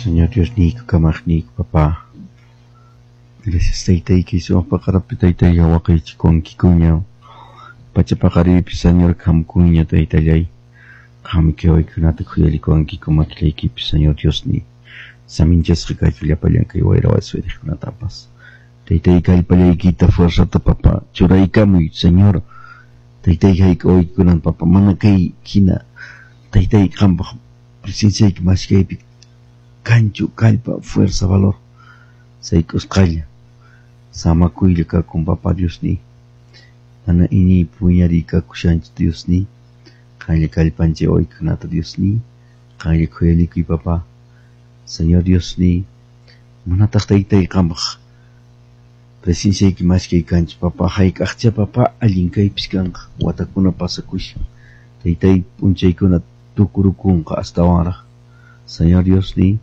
Señor Diosniyku, kamaqniyku, papá. Gracias taytayki, sumaq paqarapi taytayqa waqaychikuwankikuña. Pacha paqariypi, Señor, qamkuña taytallay. Qammi kay waykunata khuyallikuwankiku makillaykipi, Señor Diosniy. Saminchasqa kachun llapallan kay wayra wasi. Taytay kallpallaykita fuerzata, papá, churaykamuy, Señor. Taytay hayk'a waykikunan, papá, mana kay hina taytay qampaq presenciayki maskaypi kanchu kallpa fuerza valor sayk'usqalla samakuylla kakun, papá Diosniy. Mana iñiypi wiñariy kakushanchu, Diosniy. Qanlla kallpanchay waykunata, Diosniy. Qanlla khuyallikuy, papá. Señor Diosniy, manataq taytay qampaq presenciayki maskay kanchu, papá. Hayk'aqcha, papá, allin kaypis kanqa, watakuna pasakushan. Taytay p'unchaykuna tukurukunqa astawanraq. Señor Diosniy,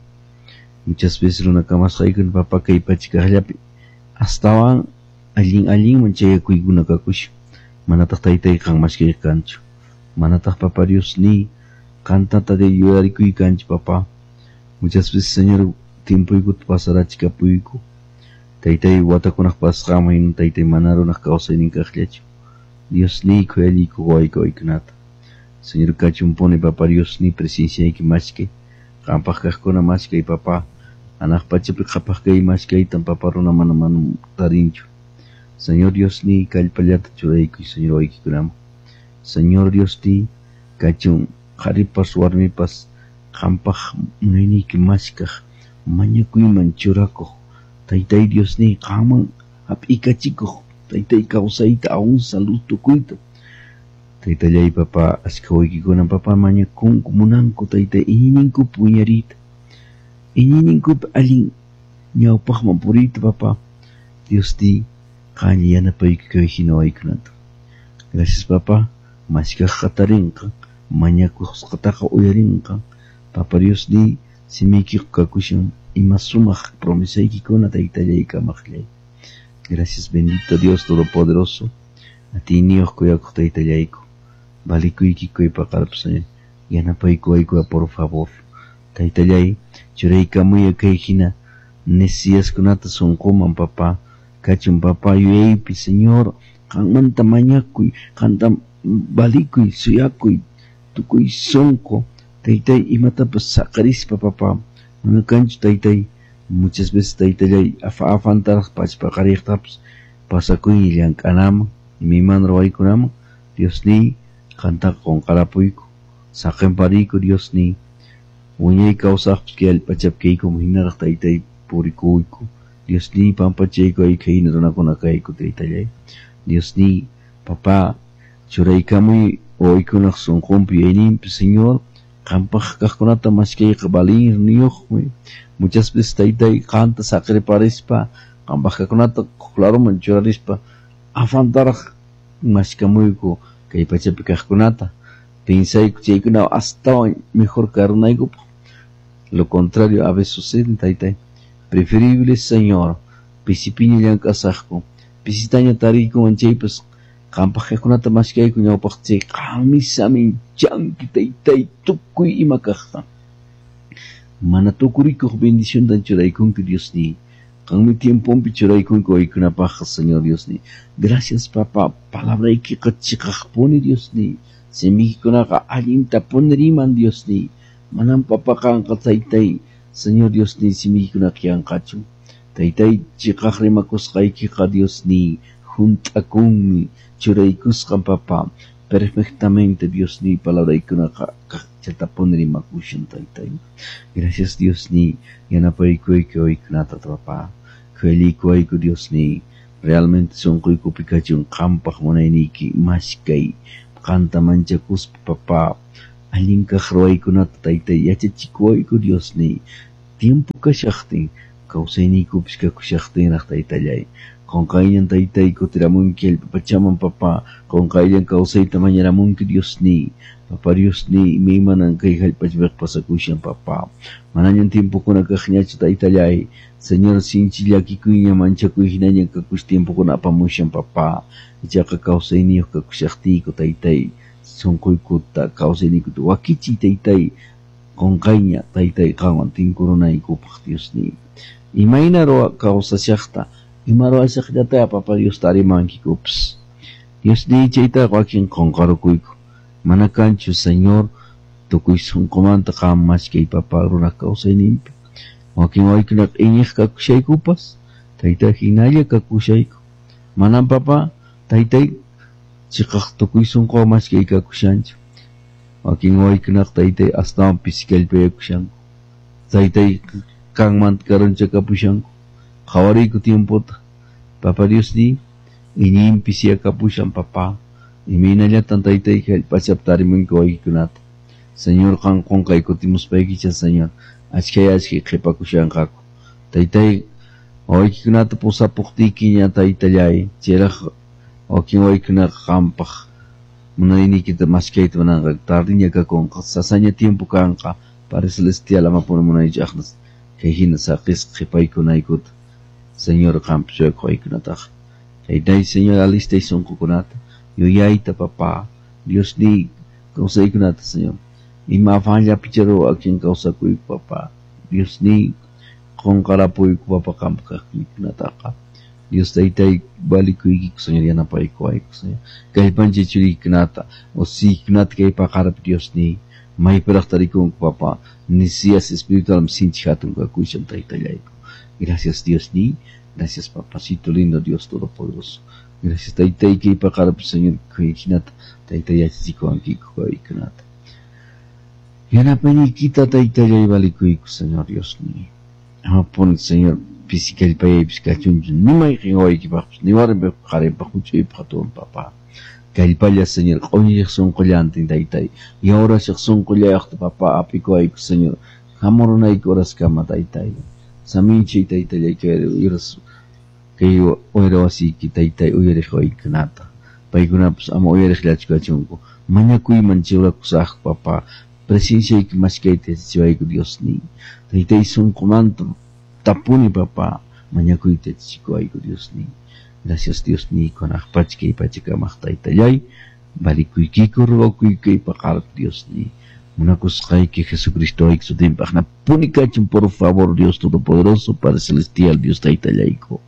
muchas veces runa kamasqaykuna, papá, kay pacha kaqllapi astawan allin allinman chayakuykuna kakushan. Manataq taytay qan maskay kanchu. Manataq, papá Diosniy, qantata de yuyarikuy kanchu, papá. Muchas veces, Señor, tiempoykuta pasarachikapuyku. Taytay watakunaq pasasqanman hina taytay mana runaq kawsaynin kaqllachu. Diosniy khuyallayku wayku waykunata. Señor kachunpuni, papá Diosniy, presenciayki maskay. Qampaq kaqkuna maskay, papá. Hanaq pachapi qhapaq kay maskaytan, papá, runa mana mana tarinchu. Señor Diosniy, kallpallata churaykuy, Señor, waykikunaman. Señor Diosniy, kachun qharipas warmipas qampaq munayniyki maskaq, mañakuyman churakuq. Taytay Diosniy, qamman hap'ikachikuq, taytay kawsayta aún salud tukuyta. Taytallay, papá, achka waykikuna, papá, mañakunku, munanku, taytay, iñiyninkupi wiñariyta. Iñiyninkupi allin ñawpaqman puriyta, papá. Diosniy, qanlla yanapayku kay hina waykunata. Gracias, papá. Maskaqqa tarinqa, mañakusqataqa uyarinqa. Papá Diosniy, simiykiqa kakushan ima sumaq promesaykikuna taytallay kamaqllay. Gracias, bendito Dios Todopoderoso. Atiyniyuq kuyakuq taytallayku. Valikuyki paqarpi, Señor. Yanapaykuwayku, por favor. Taytallay, churaykamuya kay hina necesidadkunata sunquman, papá. Kachun, papá, yuyaypi, Señor, qanmanta mañakuy, qanta valikuy, suyakuy, tukuy sunqu, taytay imatapas saqarispa, papá. Mana kanchu, taytay, muchas veces, taytallay, afa afantaraq pachpaqariqtapas pasakuyña llank'anaman, imaymana ruwaykunaman, Diosniy, qantaqa qunqarapuyku, saqinpariyku, Diosniy. Wiñay kawsaqpas kay allpachapi kaykuman hinaraq taytay purikuyku. Diosniy, pampachayku ayka hina runakuna kayku, taytallay. Diosniy, papá, churaykamuy wawaykunaq sunqunpi yuyayninpi, Señor, qampaq kaqkunata maskayqa valirniyuqmi. Muchas veces, taytay, qanta saqirparispa, qampaq kaqkunata laruman churarispa, afantaraq maskamuyku kay pachapi kaqkunata. Pensayku chaykuna astawan mejor karunaykupaq. Lo contrario a veces sucede, taytay. Preferible, Señor, pisipiña llank'asaqku, pisitaña tariykuman chaypas qampaq kaqkunata maskayku ñawpaq chay qanmi saminchanki, taytay, tukuy ima kaqta. Mana tukurikuq bendiciontan churaykunki, Diosniy. Qanmi tiemponpi churaykunki waykunapaqqa, Señor Diosniy. Gracias, papá, palabraykiqa chiqaqpuni, Diosniy. Simiykikunaqa allintapuni riman, Diosniy. Manam, papá, qanqa taytay, Señor Diosniy, simiykikunaqa yanqachu. Taytay chiqaq rimakusqaykiqa, Diosniy, hunt'akunmi, churaykusqan, papá. Perfectamente, Diosniy, palabraykunaqa kaqchatapuni rimakushan, taytay. Gracias, Diosniy, yanapaykuyki waykunata, papá. Khuyallaykuwayku, Diosniy. Realmente sunquykupi kachun qampaq munayniyki maskay, qanta manchakuspa, papá. Allin kaq ruwaykunata, taytay, yachachikuwayku, Diosniy. Tiempo kashaqtin, kawsayniykupis kakushaqtinraq, taytallay. Qunqayllan, taytay, kutiramunki allpa pachaman, papá. Qunqayllan kawsayta mañaramunki, Diosniy. Papá Diosniy, imaymanan kay hallp'achapiqa pasakushan, papá. Manañan tiempokuna kaqñachu, taytallay. Señor, sinchi llakikuyña manchakuy hinaña kakush tiempokuna apamushan, papá. Ichaqa kawsayniyuq kakushaqtiyku, taytay, sunquykuta kawsayniykuta wakichiy, taytay. Qunqayña taytay qanwan tinkurunaykupaq Diosniy. Imayna ruwa kawsashaqta, ima ruwashaqllataya papa Dios tarimankikupas. Diosniy chaytaqa wakin qunqarukuyku. Mana kanchu Señor tukuy sunqumanta qam maskay papa runaq kawsayninpi. Wakin waykunaqa iñiq kakushaykupas, taytay hinalla kakushayku. Manam papa taytay chiqaq tukuy sunquwan maskay kakushanchu. Wakin waykunaqa taytay astawan pisi kallpayakushanku. Taytay qanmanta karunchakapushanku. Qhawariyku tiempota. Papa Diosniy iñiymi pisiyakapushan papa. Imaynallatan taytay hallp'achapi tarimunki waykikunata. Señor qan qunqay kutimuspaykicha Señor achkhay achkhay qhipakushanqaku. Taytay wawaykikunata pusapuqtiykiña taytallay chayraq wakin wawaykunaqa qampaq munayniykita maskayta munanqaku tardiña kakunqa sasaña tiempo kanqa Padre Celestial amapuni munaychu aqna kay hina saqisqa qhipaykunaykuta Señor qampi suyakuq waykunataqa. Taytay Señor alistay sunqukunata yuyayta papá Diosniy kawsaykunata Señor ima afanllapicha wakin kawsakuyku papá Diosniy qunqarapuyku papa qampaq kaqninkunataqa. Dios taytay valikuykiku Señor yanapaykuwayku Señor kallpanchay churiykikunata usiykikunata kay paqarpi Diosniy maypiraq tarikunku papa necesidades espiritual sinchi hatun kakushan taytallayku. Gracias Diosniy, gracias papacito lindo Dios todopoderoso. Gracias taytay kay paqarpi Señor hinata taytay yachachikuwankiku wawaykunata. Yanapayniykita taytallay valikuyku Señor Diosniy. Amapuni Señor pisi kallpayaypis kachunchu ni mayqin wawaykipaqpis ni warmipaq qharipaq huch'uypaq hatun papá. Kallpalla Señor q'uñiq sunqullantin taytay yawrashaq sunqullayuqta papá apikuwayku Señor hamurunayki uraskama taytay. Saminchay taytallay kay uras kay wayra wasiyki taytay uyariq waykunata. Paykunapas ama uyariqllachu kachunku. Mañakuyman churakusaqku papá. Presenciayki maskayta yachachiwayku Diosniy. Taytay sunqumanta tapuni papá mañakuyta yachachikuwayku Diosniy. Gracias Diosniy kunaq pacha kay pachakamaq taytallay. Valikuykiku rogakuyku kay paqarpi Diosniy. Munakusqayki Jesucristo ayki sutinpaqna puni kachun por favor Dios Todopoderoso Padre Celestial Dios taytallayku.